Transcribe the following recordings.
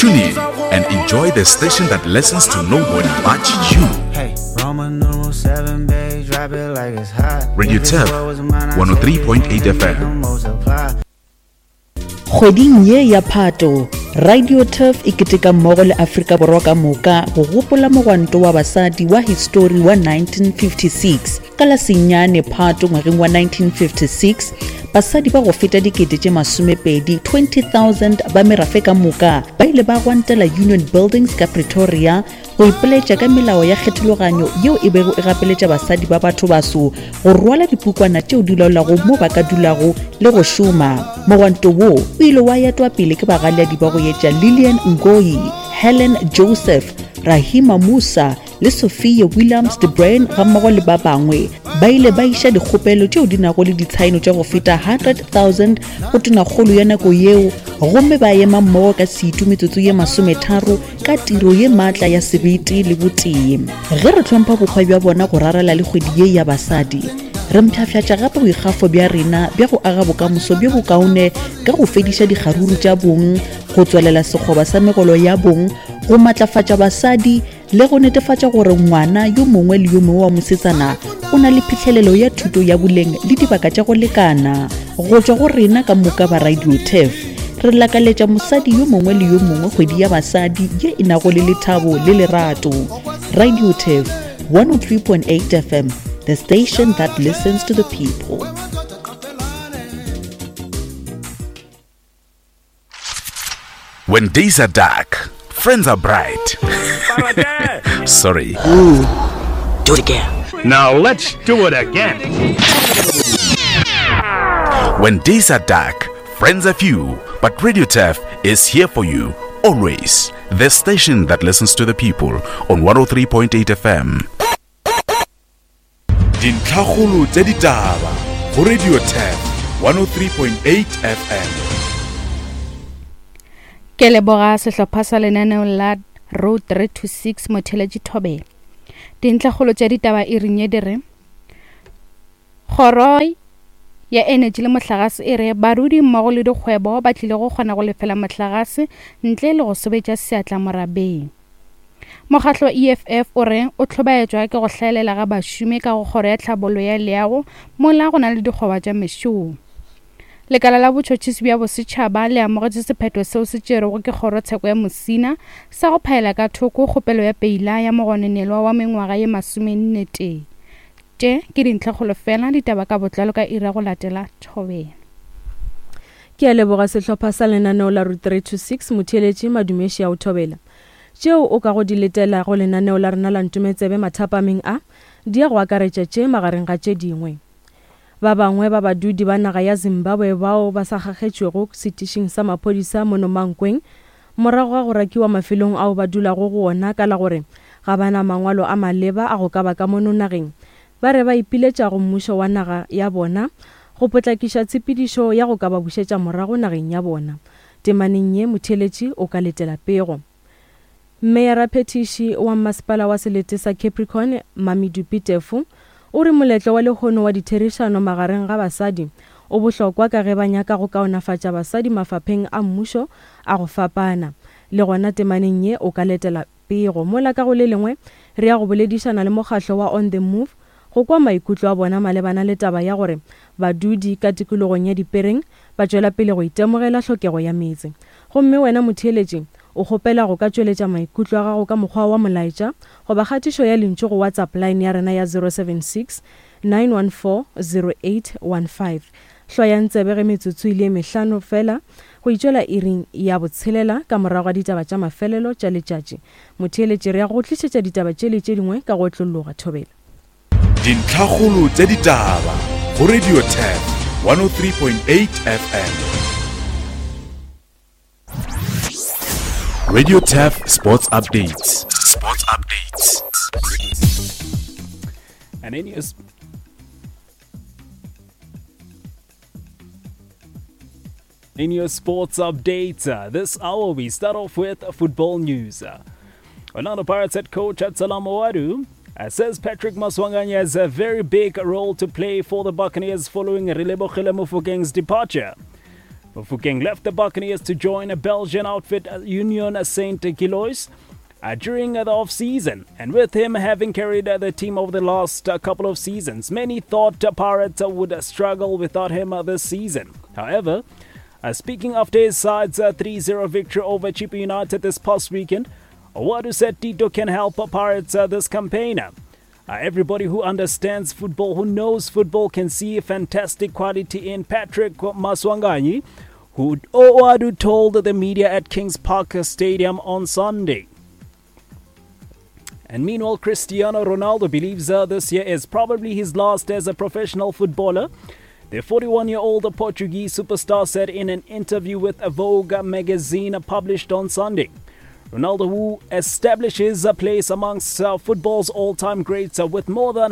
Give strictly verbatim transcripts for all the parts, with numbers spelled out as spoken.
Tune in and enjoy the station that listens to nobody but you. Hey, Roman numeral seven, babe, drop it like it's hot. Radio If this Turf, world was mine, I'd one oh three point eight take it F M. and make 'em multiply. Kgweding ye ya Phato, Radio Turf e keteka mmogo le Afrika Borwa ka moka go gopola mogwanto wa basadi wa histori wa nineteen fifty-six. Ka la senyane Phato ngwageng wa nineteen fifty-six, basadi ba go feta dikete tše masomepedi, twenty thousand ba merafe ka moka ba ile ba gwantela Union Buildings ka Pretoria go ipoletša ka melao ya kgethologanyo yeo e bego e gapeletša basadi ba batho baso go rwala dipukwana tšeo di laolago mo ba ka dulago le go šoma. Mogwanto wo o ile wa etwa pele ke bagaleadi ba go etša Lillian Ngoyi, Helen Joseph, Rahima Moosa le Sophia Williams de Bruyn ga mmogo le ba bangwe. Ba ile ba iša dikgopelo tšeo di nago le ditshaeno tša go feta hundred thousand go tonakgolo ya nako yeo, gomme ba ema mmogo ka setu metsotso ye masometharo ka tiro ye maatla ya sebete le botee. Ge re hlompha bokgwa bja bona go rarela le kgwedi ye ya basadi, re mpshafšatša gape boikgafo bja rena bja go aga bokamoso bjo bokaone ka go fediša dikgaruru tša bong, go tswelela sekgoba sa megolo ya bong, go matlafatša basadi le go netefatša gore ngwana yo mongwe le yo mongwe wa mosetsana o na le phihlelelo ya thuto ya boleng le dibaka tša go lekana. Go tšwa go rena ka moka ba Radio Turf, re lakaletša mosadi yo mongwe le yo mongwe kgwedi ya basadi ye e nago le lethabo le lerato. Radio Turf one oh three point eight F M, the station that listens to the people. When days are dark, friends are bright. Sorry. Ooh, do it again. Now let's do it again. When days are dark, friends are few, but Radio Turf is here for you always. The station that listens to the people on one oh three point eight F M. Dintlhakgolo tsa ditaba go Radio Turf one oh three point eight F M. Ke leboga sehlopha sa lenaneo la Road three two six Motheletši Thobela. Dintlhakgolo tša ditaba e reng ye di re kgoro ya energy le mohlagase e re barudi mmogo le dikgwebo ba tlile go kgona go lefela mohlagase ntle le go sobetša seatla morabeng. Mokgatlo E F F o re o hlobaetšwa ke go hlaelela ga bašomi ka go kgoro ya tlhabollo ya leago mola go na le dikgoba tša mešomo. Lekala la botšhotšhisi bja bosetšhaba le amogetše sephetho seo se tšerwego ke kgorotsheko ya Musina sa go phaela ka thoko kgopelo ya peila ya mogononelwa wa mengwaga ye masomenne tee. Tše ke dintlhakgolo fela, ditaba ka botlalo ka iri ya go latela Thobela. Ke a leboga sehlopha sa lenaneo la Route three two six Motheletši Madumeši ya o Thobela. Tšeo o ka go di letela go lenaneo la rena la Ntometsebe mathapameng a di ya go akaretša tše magareng ga tše dingwe. Ba bangwe ba badudi ba naga ya Zimbabwe bao ba sa kgakgetšwego setišing sa maphodisa mono Mankweng morago ga go rakiwa mafelong ao ba dulago go ona ka la gore ga ba na mangwalo a maleba a go ka ba ka mono nageng, ba re ba ipiletša go mmušo wa naga ya bona go potlakiša tshepedišo ya go ka ba bušetša morago nageng ya bona. Temaneng ye motheletši o ka letela pego. Meyara Phetiši wa masepala wa selete sa Capricorn Mamidupi Tefo o re moletlo wa lehono wa ditherišano magareng ga basadi o bohlokwa ka ge ba nyaka go kaonafatša basadi mafapheng a mmušo a go fapana. Le gona temaneng ye o ka letela pego. Mola ka go le lengwe re ya go boledišana le mokgahlo wa On The Move go kwa maikutlo a bona malebana le taba ya gore badudi ka tikologong ya Dipereng ba tšwela pele go itemogela hlokego ya meetse. Gomme wena motheeletši o kgopela go ka tšweletša maikutlo a gago ka mokgwa wa molaetša goba kgatišo ya lentšu go WhatsApp line ya rena ya zero seven six, nine one four, zero eight one five. Hlwayang tsebe ge metsotso e le mehlano fela go itšwela iring ya botshelela ka morago ga ditaba tša mafelelo tša letšatši. Motheeletši re ya go tlišetša ditaba tše le tše dingwe ka go otlologa. Thobela. Dintlhakgolo tša ditaba go Radio Turf one oh three point eight F M. Radio Turf Sports Updates. Sports Updates. And in your In your sports updates, uh, this hour we start off with football news. Uh, Orlando Pirates head coach Absalom Ouaddou, uh, says Patrick Maswanganyi has a very big role to play for the Buccaneers following Relebohile Mofokeng's departure. Mofokeng left the Buccaneers to join a Belgian outfit Union Saint Gilloise uh, during the off-season, and with him having carried the team over the last couple of seasons, many thought Pirates would struggle without him this season. However, uh, speaking after his side's three zero victory over Chippa United this past weekend, Ouaddou said Tito can help Pirates uh, this campaign. Uh, everybody who understands football, who knows football, can see fantastic quality in Patrick Maswanganyi, who Ouaddou told the media at Kings Park Stadium on Sunday. And meanwhile, Cristiano Ronaldo believes uh, this year is probably his last as a professional footballer. The forty-one-year-old Portuguese superstar said in an interview with Vogue magazine published on Sunday. Ronaldo, who establishes a place amongst uh, football's all-time greats uh, with more than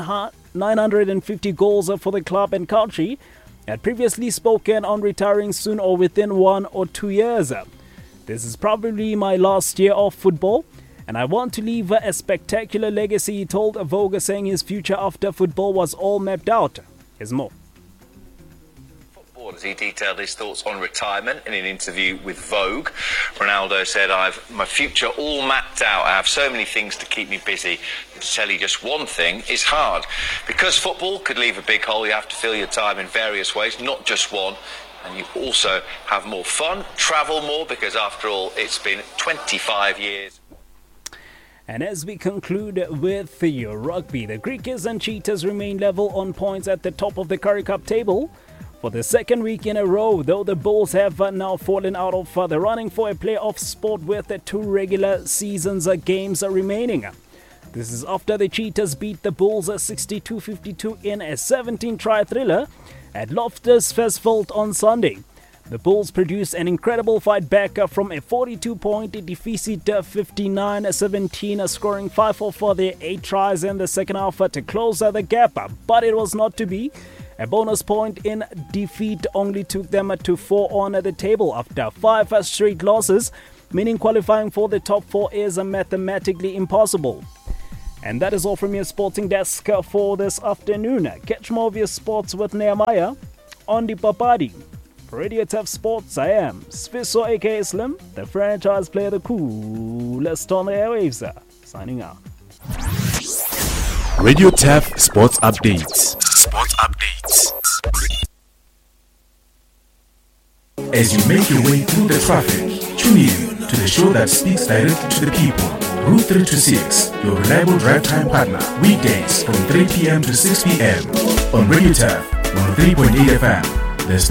nine hundred fifty goals uh, for the club and country, had previously spoken on retiring soon or within one or two years. This is probably my last year of football, and I want to leave a spectacular legacy, he told Vogue, saying his future after football was all mapped out. Here's more. As he detailed his thoughts on retirement in an interview with Vogue, Ronaldo said, I've my future all mapped out. I have so many things to keep me busy. To tell you just one thing is hard. Because football could leave a big hole, you have to fill your time in various ways, not just one. And you also have more fun, travel more, because after all, it's been twenty-five years. And as we conclude with the rugby, the Griquas and Cheetahs remain level on points at the top of the Currie Cup table for the second week in a row, though the Bulls have now fallen out of the running for a playoff spot with two regular seasons games remaining. This is after the Cheetahs beat the Bulls sixty-two fifty-two in a seventeen-try thriller at Loftus Versfeld on Sunday. The Bulls produced an incredible fight back from a forty-two-point deficit fifty-nine seventeen, scoring five for their eight tries in the second half to close the gap, but it was not to be. A bonus point in defeat only took them to four on the table after five straight losses, meaning qualifying for the top four is mathematically impossible. And that is all from your sporting desk for this afternoon. Catch more of your sports with Nehemiah on the Papadi. For Radio Turf Sports, I am Sfiso aka Slim, the franchise player, the coolest on the airwaves. Signing out. Radio Turf Sports Updates. Sports Updates. As you make your way through the traffic, tune in to the show that speaks directly to the people. Route three two six, your reliable drive time partner, weekdays from three p.m. to six p.m. on Radio Turf one oh three point eight F M, the station.